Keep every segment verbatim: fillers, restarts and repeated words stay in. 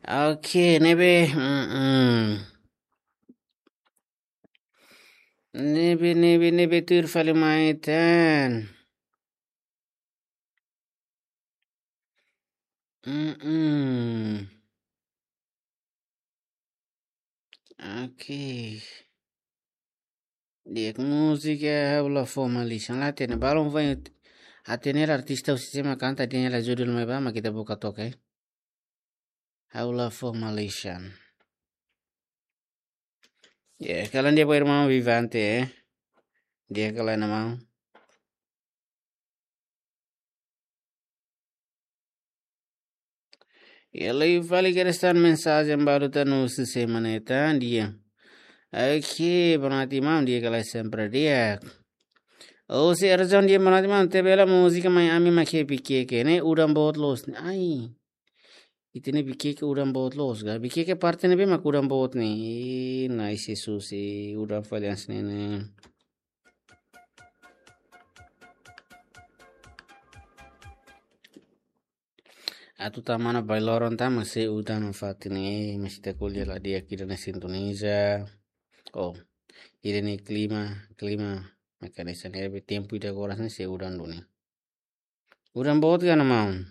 Oke, ne'ebé, mm, mm. Ne'ebé, ne'ebé, ne'ebé tuir fali mai tan. Mm, mm. Oke. Di'ak, múzika ha'u la fó malisan, la hatene. Balun foin hatene artista husi sé mak kanta, dehan hela judul mai ba, mak ita buka toka, eh. Ha'u la fó malisan. Ya, kalan di'ak ba irmaun Vivante, eh. Di'ak ka lae, maun? Ya, liu fali kedas tan mensajen balu tan husi sé mak ne'e tan, di'ak. Oke, boa noite maun, di'ak ka lae? Sempre di'ak. Husi Erzon, di'ak, boa noite maun, ita bele múzika mai ami mak iha Vikeke ne'e, udan boot loos ne'e. Ai. Ita-nia Vikeke udan boot loos ka? Vikeke parte ne'ebé mak udan boot ne'e? Ih, nai si susi, udan fali hanesan ne'e. Atu tama ona ba loron tan mak sei udan fatin ne'e, mas ita ko'alia la di'ak ida-ne'e sintoniza. Oh, ida-ne'e klima, klima mekanisme ne'e, tempu ida agora ne'e sei udan duni. Udan boot ka, maun?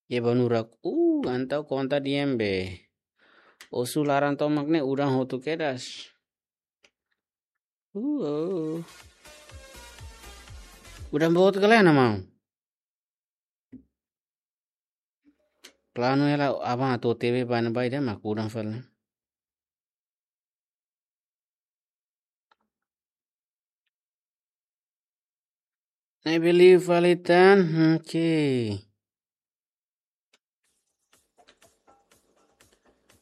Ya, banurak. Uh, entaun konta di'ak be. Osu laran tomak ne'e udan hotu kedas. Uh, oh. Udan boot ka lae, maun? Planu hela aban atu T V bani bai de mak udan fali. Ne'ebé liu fali tan, oke.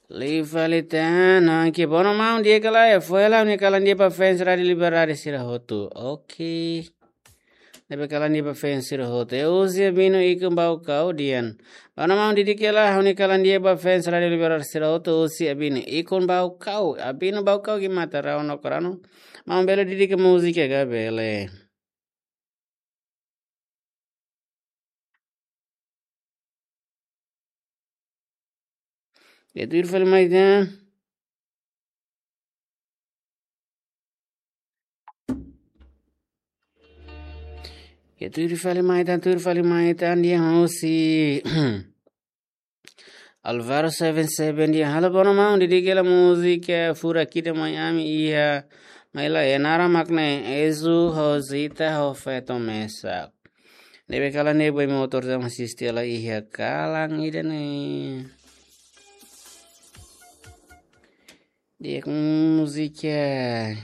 Liu fali tan, oke. Boa noite maun, di'ak ka lae? Fó hela ha'u-nia kalan di'ak ba fans Rádio Liberdade sira hotu. Oke. Ne'ebé kalan di'ak ba fans sira hotu. E husi Abino Ikun Baucau dehan: Boa noite maun, didik hela ha'u-nia kalan di'ak ba fans Rádio Liberdade sira hotu, husi Abino Ikun Baucau. Abino Baucau, gimata rau no korano. Maun bele didik múzika ka? Bele. Ya, tuir fali mai tan. Ya, tuir fali mai tan, tuir fali mai tan, di'ak, husi Alvaro seven seven dehan: Halo, boa noite maun, didik hela múzika Furak Ida mai ami iha, mai lae, naran mak ne'e Ezu, Rosita, ho feto mesak. Ne'ebé kalan ne'e boy motor sama sisti ala iha kalan ida-ne'e. Di'ak, múzika.